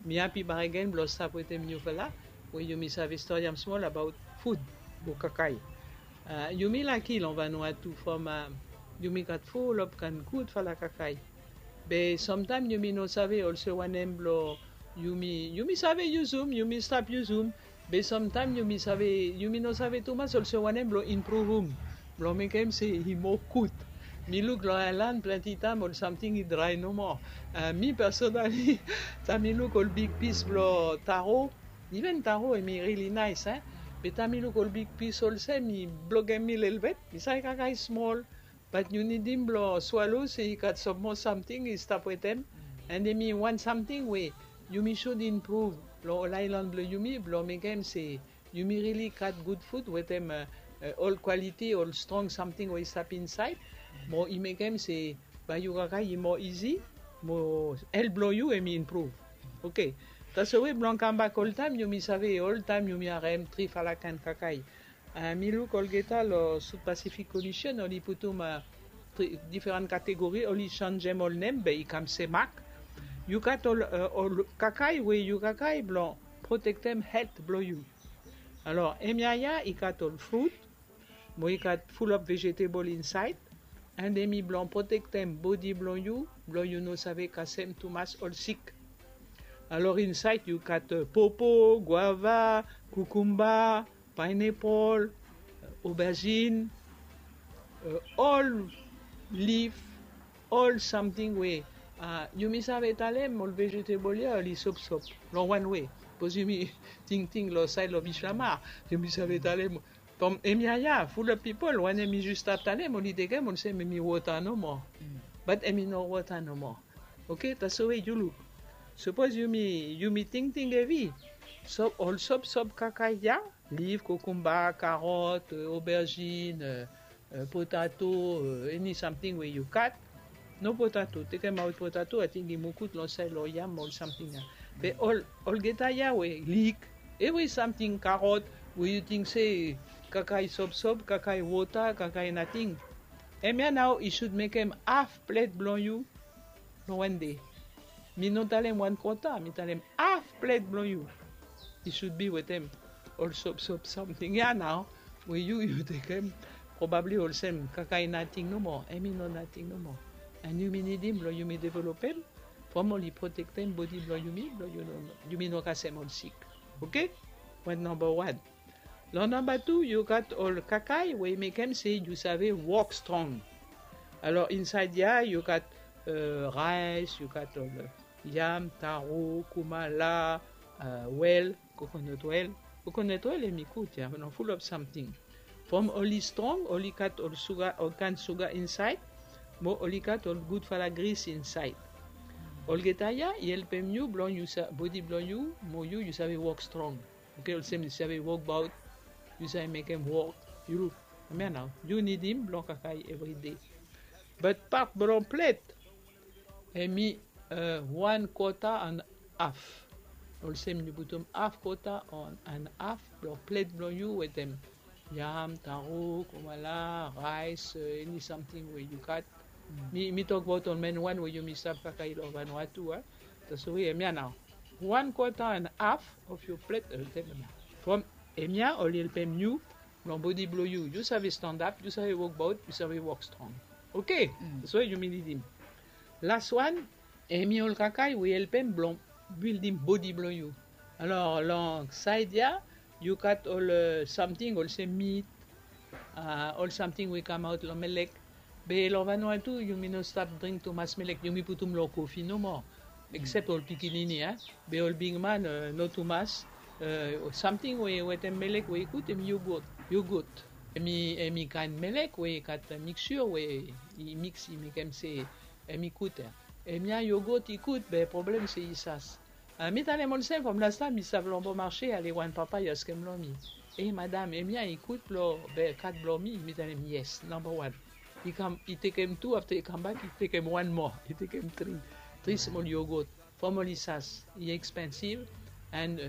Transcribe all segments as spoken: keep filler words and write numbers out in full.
Mi hapi baregen blong stap wetem niufala we yumi save stori am smol abaot fud o kakae. Yumi laki long Vanuatu from yumi gat fulap kan gudfala kakae. Be samtaem yumi no save olse wanem blong yumi yumi save yusum, yumi stap yusum. Be samtaem yumi save yumi no save tumas olse wanem blong impruvum blong mekem se i moa gud. Mi luk long aelan plante taem ol samting i drae nomo. Mi personali, taem mi luk ol bigpis blong taro, iven taro em i rili naes e. Be taem mi luk ol bigpis olsem i blogem mi lelebet, mi save kakae smol. Bat yu nidim blong swalo se i gat sam moa samting i stap wetem. And em i wan samting we yumi sud impruv long ol aelan blong yumi blong mekem se yumi rili gat gud fud wetem ol kwaliti ol strong samting we i stap insaed. Mo i mekem se bae yu kakae i moa izi, mo el blong yu em i impruv. Oke. Taswe blong kambak oltaem yumi save oltaem yumi harem trifala kaen kakae. Mi luk olgeta long South Pacific Commission oli putum diferan kategori, oli sanjem ol nem be i kam semak. Yu gat ol kakae we yu kakae blong protektem helt blong yu. Alor hemia ya i gat ol frut, mo i gat fulap vejetebol insaed. And em i blong protektem bodi blong yu blong yu no save kasem tumas ol sik. Alor insaed yu gat popo, guava, kukumba, paenepol, oberzin, ol lif, ol samting we yumi save talem ol vejetebol ya oli sopsop. Long wan we, bikos yumi tingting long saed long bislamar, yumi save talem from hemia ya fulap pipol wanem i jes stap talem oli tekem olsem em i wota nomo. Bat em i no wota nomo. Oke, taswe yu luk. Sapos yumi yumi tingting hevi, ol sopsop kakae ya, lif, kokumba, karot, oberzin, potato, eni samting we yu gat. No potato, tekemaot potato, ating i mukut long saed long yam ol samting ya. Be ol olgeta ya we lik, evri samting, karot, we yu ting se kakae sopsop, kakae wota, kakae nating. Hemia nao i sud mekem haf plet blong yu long wan dei. Mi no talem wan kota, mi talem haf plet blong yu i sud bi wetem ol sopsop samting ya nao we yu yu tekem. Probabli olsem kakae nating nomo, em i no nating nomo. And yumi nidim blong yumi developem from oli protektem bodi blong yumi blong yumi no kasem ol sik. Oke? Wan namba wan. Long namba tu yu gat ol kakae we i mekem se yu save wok strong. Alor insaed ya yu gat raes, yu gat ol yam, taro, kumala, wel, kokonot wel. Kokonot wel em i gud ya long fulap samting. From oli strong oli gat ol suga, ol kaen suga insaed. Mo oli gat ol gudfala gris insaed. Olgeta ya i helpem yu blong yu bodi blong yu mo yu yu save wok strong. Oke, olsem yu save wokbaot, yu save mekem wok. Yu luk, hemia nao yu nidim blong kakae evri dei. Bat pat blong plet em i wan kota an haf. Olsem yu putum haf kota an haf blong plet blong yu wetem yam, taro, kumala, raes, eni samting we yu gat. Mi mi tokbaot ol men wan we yumi stap kakae long Vanuatu a. Taswe hemia nao wan kota an haf of yu plet. From hemia oli helpem yu long bodi blong yu, yu save standap, yu save wokbaot, yu save wok strong. Oke. Taswe yumi nidim. Las wan, em i ol kakae we i helpem blong bildim bodi blong yu. Alor long saed ya yu gat ol samting olsem mit, ol samting we i kamaot long melek. Be long Vanuatu yumi no stap dring tumas melek, yumi putum long kofi nomo. Eksep ol pikinini a. Be ol bigman no tumas. Samting we wetem melek we i gud em i yogot. Yogot em i em i kaen melek we i gat miksur we i miks i mekem se em i gud. Hemia yogot i gud be problem se i sas. Mi talem olsem from lastaem mi stap long Bon Marché ale wan papa i askem long mi, e madam, hemia i gud blong be kat blong mi? Mi talem yes, namba wan. I kam i tekem tu, afta i kambak i tekem wan moa, i tekem tri, tri smol yogot. From oli sas i ekspensiv. And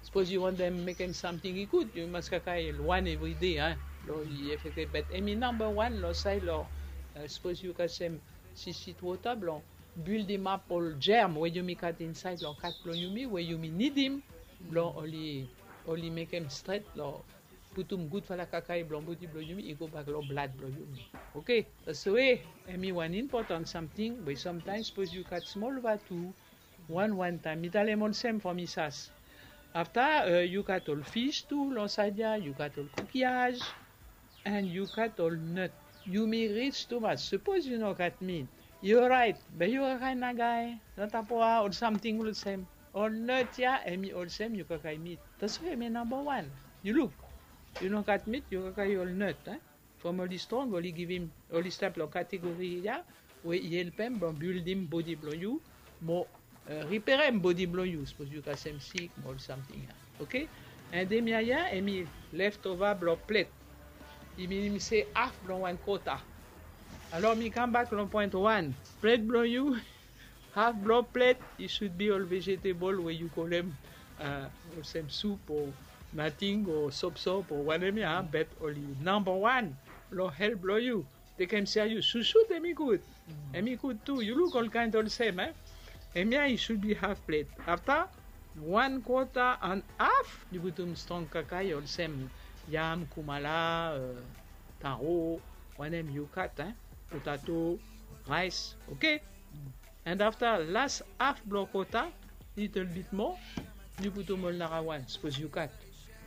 sapos yu wantem mekem samting i gud, yu mas kakae wan evri dei a. Long i efektif, bat hemi namba wan long saed long sapos yu kasem sisitwota blong Buildimap ol germ we yumi gat insaed long kat blong yumi we yumi nidim blong oli, oli mekem stret long putum gudfala kakae blong bodi blong yumi i gobak long blad blong yumi. Oke, taswe hemi wan impotan samting we samtaem sapos yu gat smol vatu, wan wan taem mi talem olsem from i sas. Afta, eh, yu gat ol fis tu long saed ya, yu gat ol kukiaj, and yu gat ol nut. Yumi rij tumas. Sapos yu no gat mit, yu oraet, be yu kakae nagae, natapoa, ol samting olsem. Ol nut ya hemi olsem yu kakae mit. Taswe hemi namba wan. Yu luk, yu no gat mit, yu kakae ol nut, eh? From oli strong, oli givim, oli stap long kategori ya we i helpem blong bildim bodi blong yu mo, eh, riperem bodi blong yu sapos yu kasem sik mo ol samting ya. Oke? And hemia ya hemi leftover blong plet. I minim se haf blong wan kota. Alor mi kambak long point wan. Plet blong yu, haf blong plet i should be ol vegetable we yu kolem, eh, olsem sup o nating o sopsop o wanem ya, bet oli namba wan long helt blong yu. Tekem sea yu susut, hemi gud. Hemi gud tu. Yu luk ol kaen olsem, eh? Hemia i should be haf plet. Afta wan kota and haf yu putum strong kakae olsem yam, kumala, eh, taro, wanem yu gat, eh? Potato, rice, oke? And afta las haf blong kota, little bit moa, yu putum ol narawan sapos yu gat.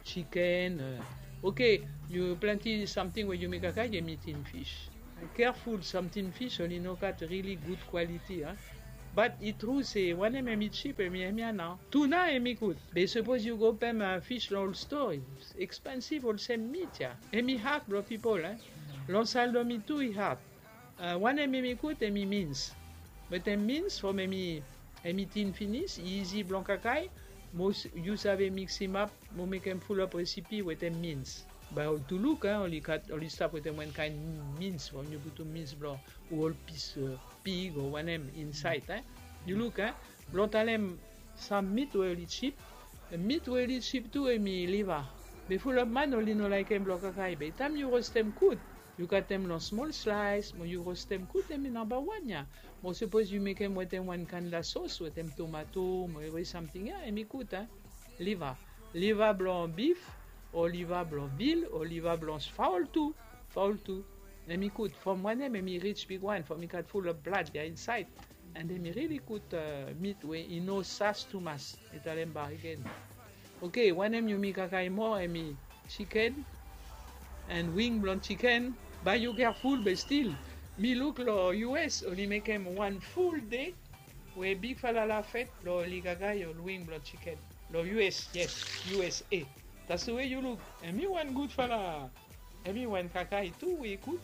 Chicken, eh, oke, yu plante samting we yumi kakae, hemi tin fis. Careful, sam tin fis oli no gat really gud kwaliti, eh. But i tru se wanem hemi jip, hemi, hemia nao. Tuna hemi gud. Be sapos yu go pem, eh, fis long ol stoa, i ekspensiv olsem mit ya. Hemi had blong pipol, eh. Long Sal Domi tu i had. Eh, wanem hemi gud, hemi mins. Wetem mins from hemi, hemi tin finis, i izi blong kakae, mo yu save miksimap mo mekem fulap resipi wetem mins. Bae ol Tuluk, eh, oli gat, oli stap wetem wan kaen mins from yu putum mins blong ol pis, eh, pig o wanem insaed, eh. Yu luk, eh, blong talem sam mit we oli jip, mit we oli jip tu hemi liva. Be fulap man oli no laekem blong kakae, be taem yu rostem gud, yu katem long smol slaes mo yu rostem gud, hemi namba wan ya. Mo sapos yu mekem wetem wan kaen sos wetem tomato mo evri samting ya, hemi gud, eh. Liva, liva blong bif o liva blong vil o liva blong faol tu, faol tu. Hemi gud from wanem, hemi rij bigwan from i gat fulap blad ya insaed. And hemi really gud, eh, mit we i no sas tumas, mi talem bakegen. Oke, wanem yumi kakae moa, hemi jiken and wing blong jiken. Bae yu careful, be stil mi luk long U S oli mekem wan ful dei we bigfala lafet blong oli kakae ol wing blong jiken. Long U S, yes, U S A. Taswe yu luk, hemi wan gudfala, hemi wan kakae tu we i gud.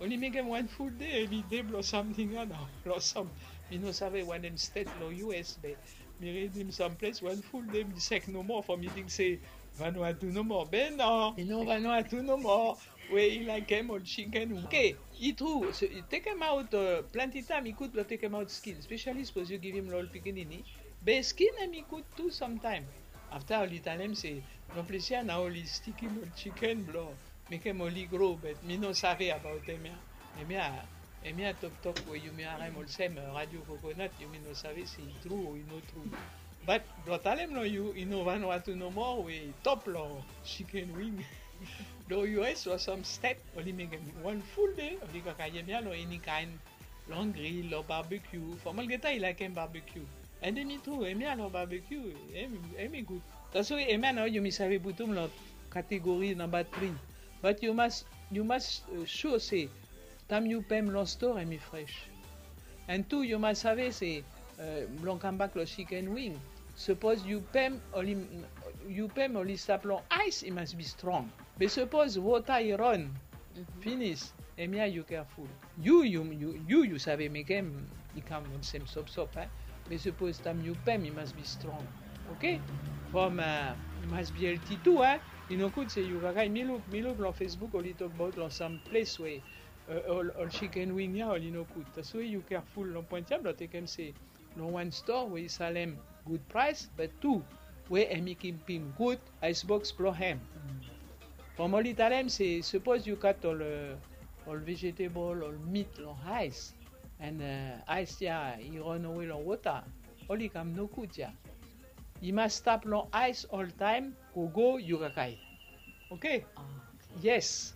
Oli mekem wan ful dei, hemi dei blong samting ya nao, blong sam, mi no save wanem stet long U S, be mi ridim sam ples wan ful dei mi sek nomo from mi ting se Vanuatu nomo. Be no, i no Vanuatu nomo we i laekem ol jiken. Oke, i tru, so, i tekemaot, eh, plante taem i gud blong tekemaot skin, spesiali sapos yu givim long ol pikinini. Be skin hemi gud tu samtaem. Afta oli talem se long ples ya nao oli stikim ol jiken blong mekem oli gro, be mi no save abaot hemia. Hemia, hemia toktok we yumi harem olsem, eh, Radio Coconut, yumi no save se i tru o i no tru. But blong talem long yu, i no Vanuatu nomo we i top long jiken wing. Long U S long sam stet oli mekem wan ful dei, oli kakae hemia long eni kaen, long gril, long barbecue, from olgeta i laekem barbecue. And hemi tru, hemia long barbecue, hem, hemi gud. Taswe hemia nao yumi save putum long kategori namba tri. But yu mas, yu mas, eh, sure se taem yu pem long stoa hemi fres. And tu yu mas save se, eh, blong kambak long jiken wing, sapos yu pem oli, yu pem oli stap long aes, i mas bi strong. Be sapos wota i ron finis, hemia yu careful. Yu, yu, yu, yu, yu save mekem i kam olsem sopsop, eh. Be sapos taem yu pem i mas bi strong. Oke? From, eh, i mas bi healthy tu, eh. I no gud se yu kakae, mi luk, mi luk long Facebook oli tokbaot long sam ples we, eh, ol, ol jiken wing ya oli no gud. Taswe yu careful long point ya blong tekem se long wan stoa we i salem gud praes, be tu we hemi kipim gud aes boks blong hem. From oli talem se sapos yu gat ol, eh, ol vegetable, ol mit long aes, And uh, ice ya i run away long water. Oli kam no good ya. I mas stap long ice all time. Go go you kakai. Okay. Yes.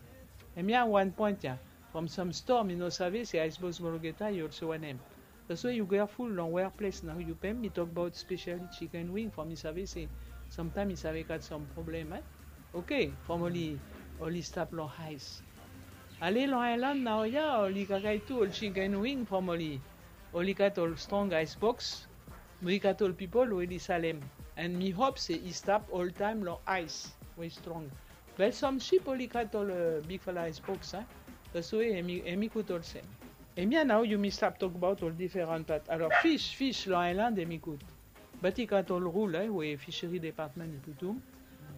Em ya one point ya. From some storm you know service ya ice box mologeta you also want him. That's why you careful long workplace now you pay me talk about specially chicken wing from you service. Sometimes you have got some problem, eh? Okay, from only only stop long ice. Ale long island now ya oli kakai tu oli chicken wing from oli oli got all strong ice box. We got all people we oli salem. And me hope say he stop all time long ice. We strong. But some ship oli got all uh, big fala ice box, eh? That's why emi emi good all same. Emi now you me stop talk about all different part. Alors fish fish long island emi good. But i gat ol rul eh, we fishery department i putum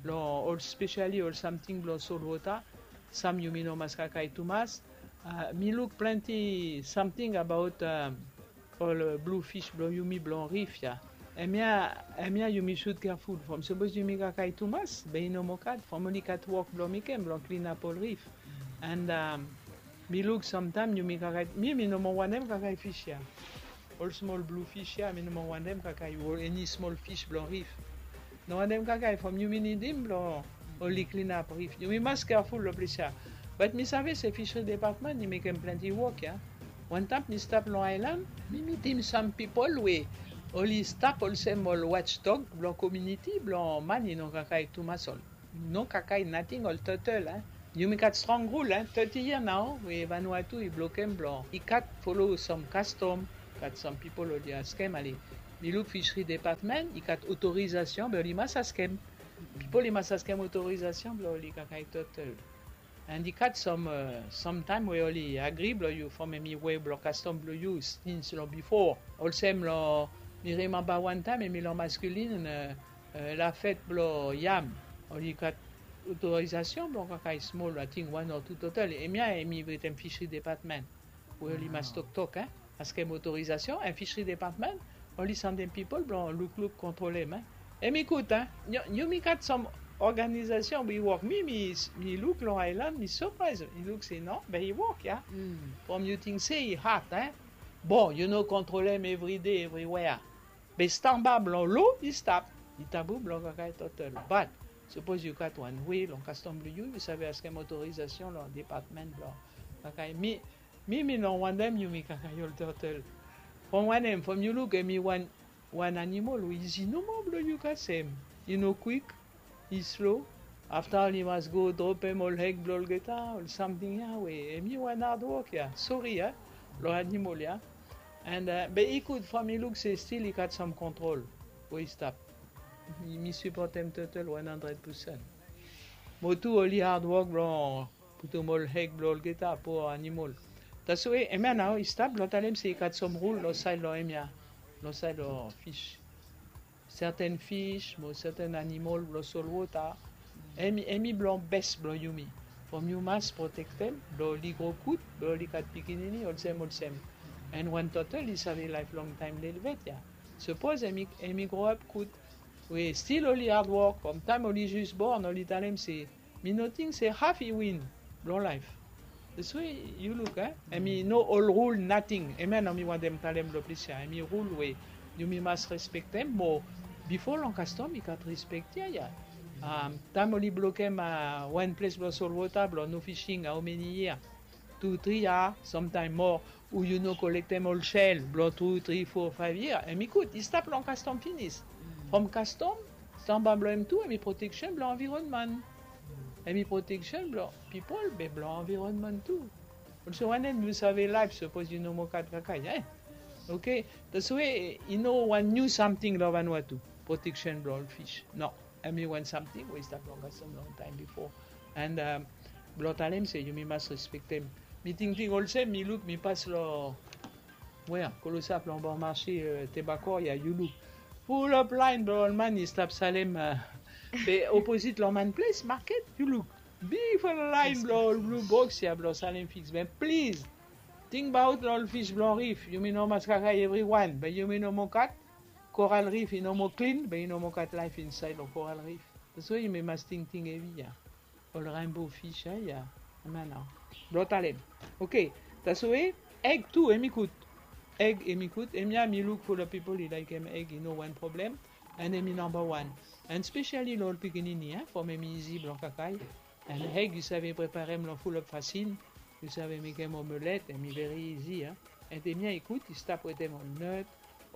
long ol specially ol samting blong solwota. Sam yumi no mas kakai tumas. Uh, mi luk plenty samting abaot um, ol uh, blue fish blong yumi blong rif ya. Emia emia yumi sut careful from suppose yumi kakai tumas be i no mo kat from oli kat wok blong mikem blong clean up ol rif. And um, mi luk samtam yumi kakai mi mi no mo wanem kakai fish ya. Ol smol blu fish ya mi no mo wantem kakai ol eni smol fish blong rif. No wantem kakai from yumi nidim blong oli klin ap rif yumi mas keaful long ples ya. Bat mi save se fishery department i mekem plenti wok ya. Wantap mi stap long ailan mi mitim sam pipol we oli stap olsem ol watchdog blong kominiti blong man i no kakai tumas ol. No kakai nating ol totel a. Yumi kat strong rul a toti yia nao we vanua tu i blokem blong i kat folo som kastom. Kat som pipol oli askem ale mi luk fishery department i kat otorizasion be oli mas askem. Pipol i mas askem otorizasion blong oli kakai totel. And i kat som somtaim we oli agri blong yu fomem i we blong kastom blong yu stins long bifo. Olsem long mi rimamba wantaim em i long maskulin. Lafet blong yam oli gat otorizasion blong kakai smol ating wan o tu total. Emia em i wetem fishery department we oli mas toktok en askem otorizasion en fishery department. Oli sandem pipol blong lukluk kontrolem en. Em i gud en. Yumi gat som organizasion we i wok mi mi luk long ailan mi sopraiz i luk se no be i wok ya. From yu ting se i hat en. Bon yu no kontrolem evride evriwea. Be stamba blong lo i stap. I tabu blong kakai totel bat. Sipos yu gat wan we long kastom blong yu yu save askem otorizasion long department blong kakai mi mi mi no wantem yumi kakai ol totel. From wanem from yu luk em i wan wan animol we izi nomo blong yu kasem. I no kwik. I slo. Afta oli mas go dropem ol hek blong olgeta ol samting ya we em i wan adwok ya sori ya. Long animol ya. And be i gud from i luk se stil i gat sam kontrol we i stap. Mi sipotem totel wan handred pusen. Mo tu oli adwok blong putum ol hek blong olgeta po animol. Taso we emia nao i stap blong talem se i gat sam rul long said long emia long said long fish. Serten fish mo serten animol blong solwota. Em i blong bes blong yumi. From yu mas protektem blong oli gro gud blong oli gat pikinini olsem olsem. En wan totel i save laef longtaem lelvet ya. Sapos em i gro ap gud we stil oli adwok from taem oli jis born oli talem se mi no ting se haf i win blong laef. That's why yu luk a em i no ol rul nating. Em ya nao mi wantem talem long plis ya em i rul we yumi mas respektem mo bifo long kastom i gat respek ya ya. Taem oli blokem wan ples blong solwota blong no fishing aomeni yia? Tu tri ya samtaem moa. U yu no kolektem ol sel blong tu tri fo faev yia em i gud i stap long kastom finis. From kastom stamba blong em tu em i proteksen blong anvironman. Em i proteksen blong pipol be blong anvironman tu. Olse wanem yu save laef sapos yu no mo kat kakai ya. Oke. That's why i no wan niu samting long vanua tu. Proteksen blong ol fish no. Em i wan samting we i stap long kastom longtaem bifo. And blong talem se yumi mas respektem. Mi tingting olsem mi luk mi pas long wea kolosap long bor marse tebakor ya yu luk. Fulop laen blong ol man i stap salem be oposit long man ples maket yu luk. Bigfala laen blong ol blu boks ya blong salem fiks be plis. Tingbaot long ol fis blong rif yumi no mas kakai evriwan be yumi no mo kat. Koral rif i no mo klin be i no mo kat laef insaed long koral rif. Taswe yumi mas tingting evi ya. Ol rainbow fish ya. Mano blong talem. Oke. Taswe eg tu em i gud. Eg hemi gud, hemia mi luk fulap pipol i laekem eg, i no wan problem. And hemi namba wan. And specially lo ol pikinini, from hemi izi blong kakae. And eg yu save preparem lo fulap fasin. Yu save mekem omelet, hemi veri izi. And hemia i gud i stap wetem ol nut,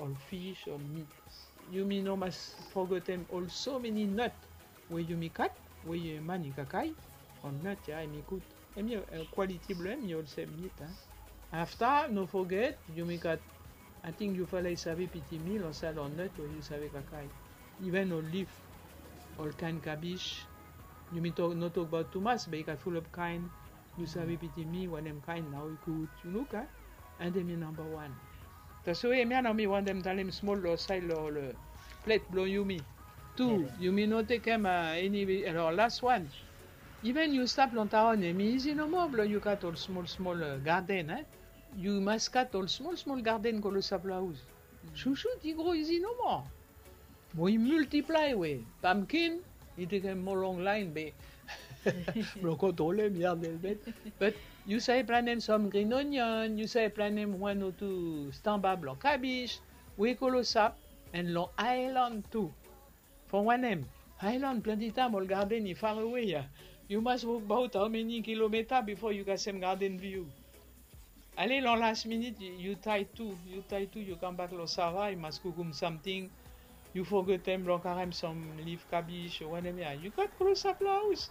ol fish, ol meat. Yumi no mas fogetem ol so many nut we yumi gat we man i kakae. Ol nut ya hemi gud. Hemi kwaliti blong hem i olsem meat. Afta no foget yumi gat, ating yufala i save pitim mi lo sait lo nut we yu save kakae. Even ol lif, ol kaen kabis. Yumi no tokbaot tumas be i gat fulap kaen. Yu save pitim mi wanem kaen nao i gud, yu luk. And hemi namba wan. Taswe hemia nao mi wantem talem smol lo sait lo ol plet blong yumi. Tu, yumi no tekem eni, lo las wan. Even yu stap long taon, hemi izi nomo blong yu gat ol smol smol garden. Yu mas gat ol smol smol garden klosap lo haos. Susut i gro izi nomo. Mo i multiplae we pumpkin i tekem mo long laen be blong kontrolem ya lelebet. But yu save planem sam green onion, yu save planem wan o tu stamba blong kabis we klosap. And long aelan tu. From wanem? Aelan plante taem ol garden i farewe ya. Yu mas wokbaot hao meni kilometa bifo yu kasem garden blong yu. Ale long las minit yu taet tu, yu taet tu, yu kambak long sava, yu mas kukum samting. Yu fogetem blong karem sam lif kabis o wanem ya. Yu gat klosap long haos.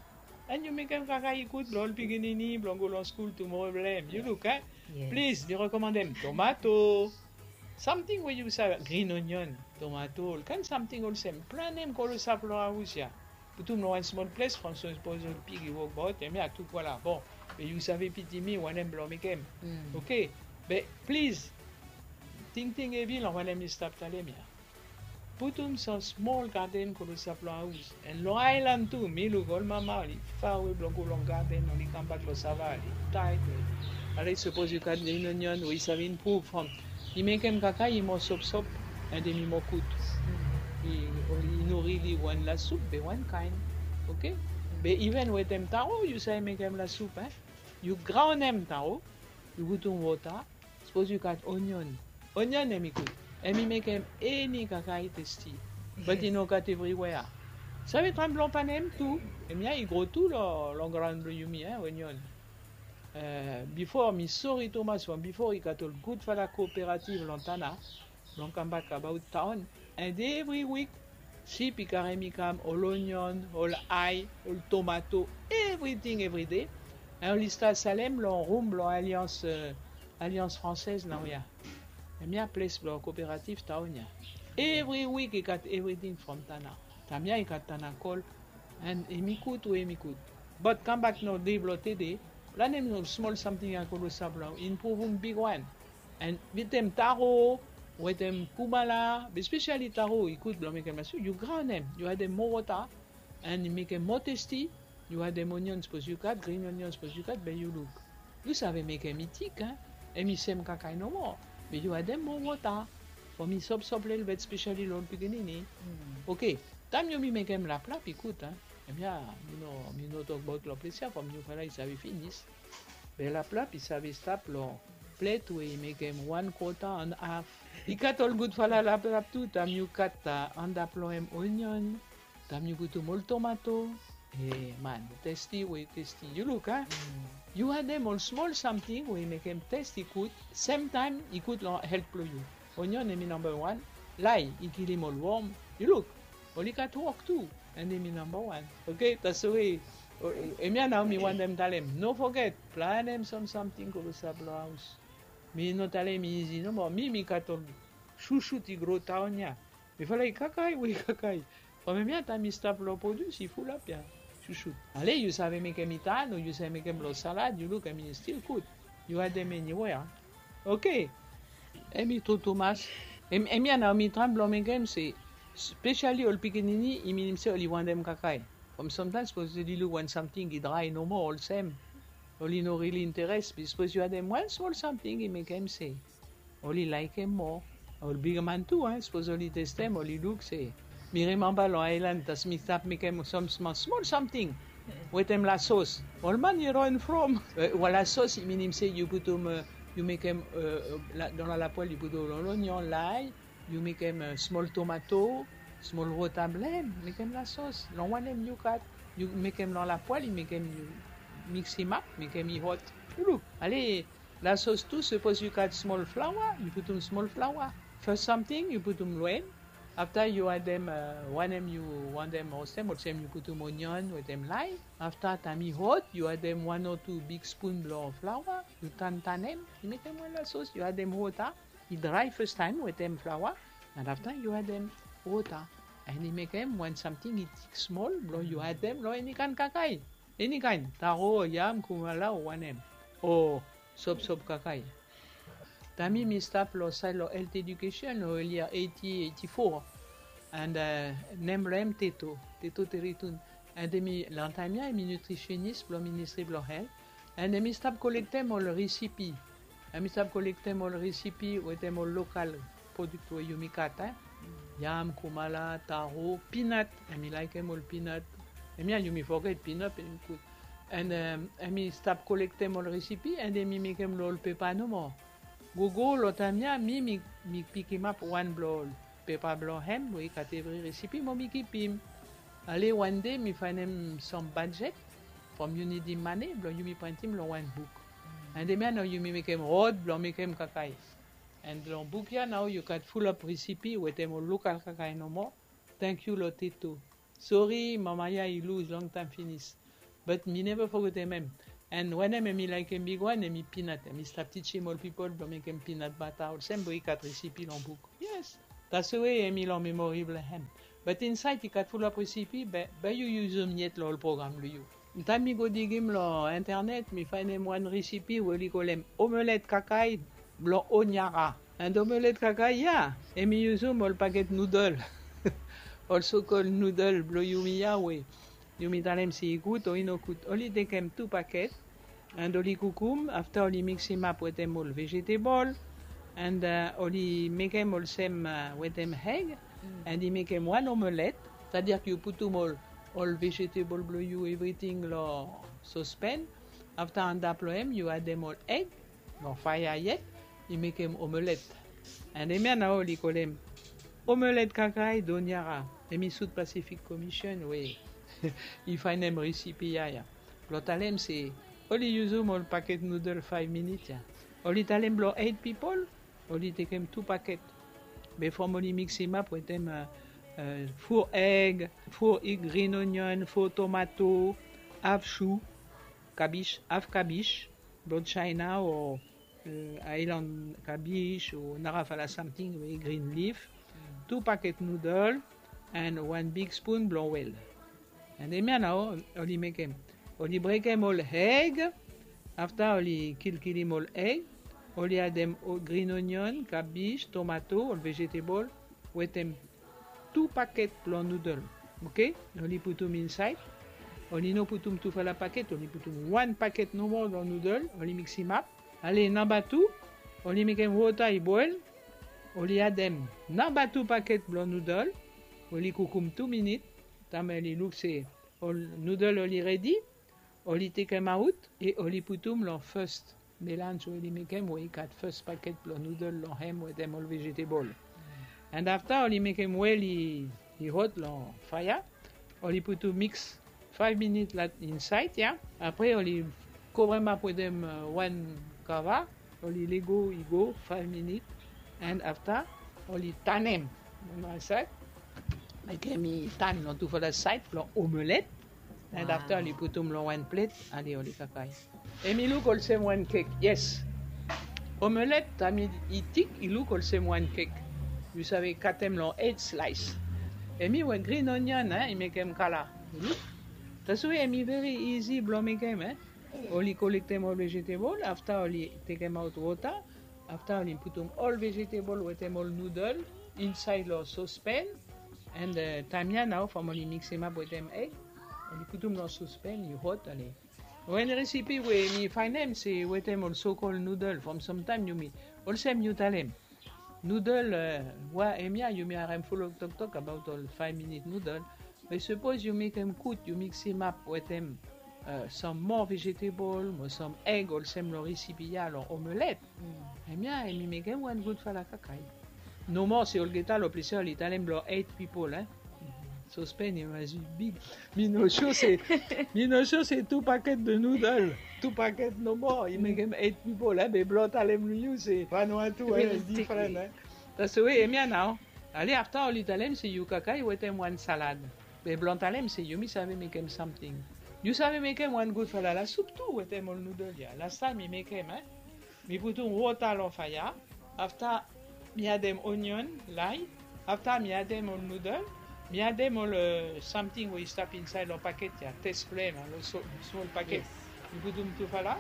And yu mekem kakae i gud blong ol pikinini blong go long skul tumoro blong hem. Yu luk, eh? Plis mi rekomandem tomato. Samting we yu save, green onion, tomato, ol kaen samting olsem. Planem klosap long haos ya. Putum long wan smol ples from sapos ol pig i wokbaot, hemia tu kwala. Bon, be yu save pitim mi wanem blong mekem. Oke. Be plis, tingting hevi long wanem mi stap talem ya. Putum sam smol garden klosap long haos. And long aelan tu, mi luk ol mama oli farewe blong go long garden, oli kambak long sava, oli taet. Ale sapos yu gat green onion we i save impruv from i mekem kakae i mo sopsop, and hemi mo gud. I no rili wan lasup be wan kaen. Oke. Be even wetem taro yu save mekem lasup, eh? Yu graonem taro, yu putum wota. Sapos yu gat onion. Onion hemi gud. Hemi mekem eni kakae testi. But i no gat evriwea. Save traem blong planem tu. Hemia i gro tu long graon blong yumi, eh, onion. Bifo mi sori tumas from bifo i gat ol gudfala kooperativ long Tanna blong kambak abaot taon. And evri wik sip i karem i kam ol onion, ol ae, ol tomato, evriting evride. And oli stat salem long rum blong Alliance, Alliance Française naoia. Hemia ples blong kooperativ taon ya. Evri wik i gat evriting from Tanna. Taem ya i gat Tanna Gold. And hemi gud we hemi gud. But kambak long dei blong tede, planem ol smol samting ya klosap blong impruvum bigwan. And wetem taro, wetem kumala, be spesiali taro i gud blong mekem lasup. Yu graonem, yu adem moa wota, and i mekem moa testi. Yu adem onion sapos yu gat, green onion sapos yu gat, be yu luk. Yu save mekem i tik, eh? Hemi sem kakae nomo. Be yu adem moa wota from i sopsop lelebet, spesiali long ol pikinini. Oke. Taem yumi mekem laplap i gud, eh? Hemia mi no, mi no tokbaot long ples ya from yufala i save finis. Be laplap i save stap long plet we i mekem wan kwota and haf. I gat ol gudfala laplap tu, taem yu gat antap long hem onion, taem yu putum ol tomato. Eh man, testi we i testi. Yu luk, a? Yu adem ol smol samting we i mekem testi gud, semtaem i gud long helt blong yu. Onion hemi namba wan. Lae i kilim ol wom. Yu luk, oli gat wok tu. And hemi namba wan. Oke, taswe. Hemia nao mi wantem talem. No foget, planem sam samting klosap long haos. Mi no talem i izi nomo. Mi, mi gat ol susut i gro taon ya. Mifala i kakae, we i kakae. From hemia taem i stap long produs i fulap ya. Susut. Ale yu save mekem i tan o yu save mekem long salad, yu luk, hemi stil gud. Yu adem eniwea. Oke. Hemi tru tumas. Hemia nao mi traem blong mekem se, spesiali ol pikinini, i minim se oli wantem kakae. From samtaem sapos oli luk wan samting i drae nomo olsem, oli no rili interes, be sapos yu adem wan smol samting i mekem se oli laekem moa. Ol bigman tu, sapos oli testem, oli luk se. Mi rimemba long aelan, taem mi stap mekem sam smol samting wetem lasos. Ol man i ron from. Wan lasos i minim se yu putum yu mekem, eh, la, dan la lapoêl yu putum ol onyon, lay, yu mekem, eh, smol tomato, smol wota blong hem, mekem la sos. Long wanem yu kat, yu mekem long lapoêl, yu mekem, yu miksimap, mekem i hot. Ulu. Ale, la sos tu, sapos yu kat smol flaoa, yu putum smol flaoa. Fes samting yu putum long hem. Afta yu adem, eh, wanem yu wantem roastem, olsem yu putum onyon wetem lay. Afta taem i hot, yu adem wan o tu big spoon blong flaoa, yu tantanem, i mekem wan la sos, yu adem wota, i drae fastaem wetem flaoa, and afta yu adem wota. And i mekem wan samting i tik smol blong yu adem long eni kaen kakae. Eni kaen, taro, yam, kumala o wanem. O sopsop kakae. Taem mi stap long saed long health education long early eighty, eighty-four. And, eh, nem blong hem Teto, Teto Teritun. And hemi long taem ya hemi nutritionist blong Ministry blong Health. And hemi stap kolektem ol recipe. Hemi stap kolektem ol recipe wetem ol local product we yumi kat, eh. Yam, kumala, taro, peanut. Hemi laekem ol peanut. Hemia yumi foget peanut, hemi gud. And, em, hemi stap kolektem ol recipe, and hemi mekem long ol pepa nomo. Gogo long taem ya, mi, mi, mi pikimap wan blong ol pepa blong hem we i gat evri recipe, mo mi kipim. Ale wan dei mi faenem sam budget from Unity Money blong yumi printim long wan buk. And hemia nao yumi mekem rod blong mekem kakae. And long buk ya nao yu gat fulap recipe wetem ol local kakae nomo. Tangkiu long Teto. Sori, mama ya i lus longtaem finis. But mi neva fogetem hem. And wanem hemi laekem bigwan, hemi peanut. Hemi stap tijim ol pipol blong mekem peanut butter olsem we i gat recipe long buk. Yes. That's the way hemi long memory blong hem. But insaed i gat fulap recipe, be, be yu yusum yet long ol program blong yu. Taem mi go digim long internet, mi faenem wan recipe we oli kolem omelette kakae blong Honiara. And omelette kakae ya, hemi yusum ol paket noodle. Ol so-called noodle blong yumi ya we yumi talem se i gud o i no gud. Oli tekem tu paket, and oli kukum, afta oli miksimap wetem ol vegetable, and, eh, oli mekem olsem, eh, wetem egg, and i mekem wan omelette, c'est-à-dire yu putum ol, ol vegetable blong yu, evriting long sospen, afta antap long hem yu adem ol egg, long faea yet, i mekem omelette. And hemia nao oli kolem omelette kakae d'Honiara. Hemi South Pacific Commission we i faenem recipe ya ya. Blong talem se oli yusum ol paket noodle five minutes ya. Oli talem blong eight pipol, oli tekem tu paket. Be from oli miksimap wetem, eh, eh, four egg, four green onion, four tomato, half chou, kabij, half kabij, blong China o, eh, island kabij o narafala samting we green leaf, tu paket noodle, and wan big spoon blong oel. And hemia nao oli mekem. Oli brekem ol egg, afta oli kilkilim ol egg, oli adem o-, green onion, kabij, tomato, ol vegetable, wetem tu paket blong noodle. Oke? Oli putum insaed. Oli no putum tufala paket, oli putum wan paket nomo long noodle, oli miksimap. Ale, namba tu, oli mekem wota i boel, oli adem namba tu paket blong noodle, oli kukum tu minit, taem oli luk se ol noodle oli redi, oli tekemaot, e oli putum long first melanj we oli mekem, we i gat first paket blong noodle long hem wetem ol vegetable. And afta oli mekem oel i, i hot long faea, oli putum mix five minit la insaed ya. Apre oli kovremap wetem, eh, wan kava, oli lego i go five minit. And afta oli tanem. Mekem i tan long tufala saed blong omelette. And afta oli putum long wan plet, ale oli kakae. Hemi luk olsem wan kek, yes. Omelette, taem i tik, i luk olsem wan kek. Yu save katem long eight slice. Hemi we green onion, eh, i mekem kala. Yu luk? That's why hemi very easy blong mekem, eh. Oli kolektem ol vegetable, afta oli tekemaot wota, afta oli putum ol vegetable wetem ol noodle insaed long sospen, and, eh, taem ya nao from oli miksimap wetem egg, oli putum long sospen, i hot, ale. Wan recipe we mi faenem se wetem ol so-called noodle, from samtaem yumi, olsem yu talem. Noodle, eh, wa hemia yumi harem fulap toktok abaot ol five minit noodle. Be sapos yu mekem gud, yu miksimap wetem uh, sam moa vegetable mo sam egg olsem long recipe ya long omelette. Hemia hemi mekem wan gudfala kakai. Nomo se olgeta long ples ya oli talem blong eight people, eh. Sospen i mas bi big. Mi no sure se mi no sure se two packet de noodle, two packet nomo i mekem eight people, eh, be blong talem long yu se wan wan tu, eh, different, eh. That's the way hemia nao. Ale afta oli talem se yu kakai wetem wan salad. Be blong talem se yumi save mekem samting. Yu save mekem wan gudfala la sup tu wetem ol noodle ya. Last time mi mekem, eh. Mi putum wota long faea. Afta mi adem onion, lime. Afta mi adem ol noodle. Mi adem ol, eh, samting we i stap insaed long paket ya. Test flem, long smol paket. Mi putum tufala.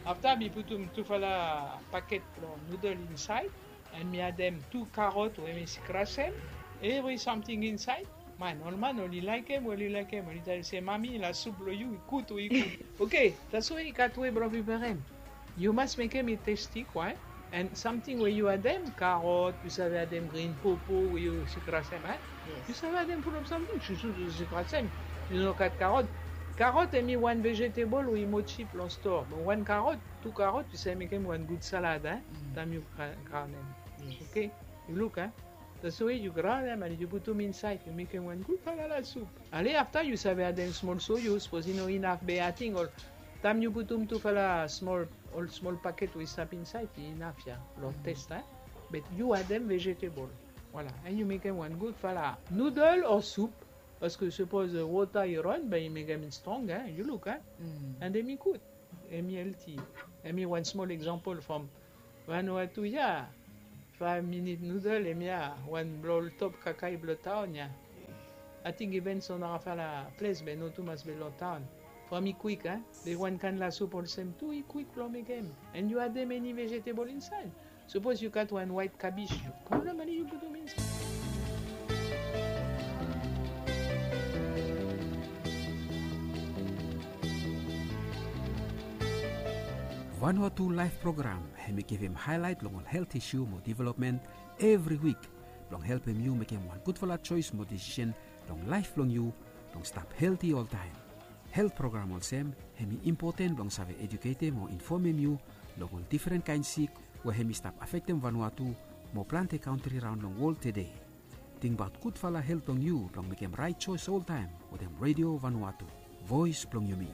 Afta mi putum tufala paket blong noodle insaed. And mi adem tu karot we mi skrasem, evri samting insaed. Man, ol man oli laekem, oli laekem, oli talem se, "Mami, la sup blong yu i gud, we i gud." Oke, that's why i gat we blong preparem. Yu mas mekem i testi, kwa, eh? And samting we yu adem, karot, yu save adem grin popo we yu skrasem, eh? Yu save adem fulap samting, susu yu skrasem. Yu no gat karot. Karot hemi wan vegetable we i moa cheap long store. Be wan karot, tu karot, yu save mekem wan gud salad, eh? Taem yu graonem. Oke? Yu luk, eh? That's the way yu graonem and yu putum insaed, yu mekem wan gud falala sup. Ale afta yu save adem smol soyo, sapos i no inaf be ating ol, taem yu putum tufala smol, ol smol paket we i stap insaed, i inaf ya long test, eh? Be yu adem vegetable. Voilà, and yu mekem wan gudfala noodle o sup. Paske sapos, eh, wota i ran, be i mekem i strong, eh? Yu luk, eh? And hemi gud. Hemi healthy. Hemi wan smol example from Vanuatu ya. Five minute noodle, hemia wan blong ol top kakai blong taon ya. Ating even son narafala ples be no tumas be long taon. From i kwik, eh? Be wan kaen la sup olsem tu i kwik blong mekem. And yu adem eni vegetable insaed. Sapos yu gat wan waet kabej, yu pulum and yu putum insaed. Vanuatu Life Program hemi givim haelaet long ol helt isu mo developmen evri wik blong helpem yu mekem wan gudfala joes mo desisen long laef blong yu blong stap helti oltaem. Helt program olsem hemi impoten blong save eduketem o infomem yu long ol difren kaen sik we hemi stap afektem Vanuatu mo plante kantri raon long wol tede. Tingbaot gudfala helt blong yu blong mekem raet joes oltaem wetem Redio Vanuatu, voes blong yumi.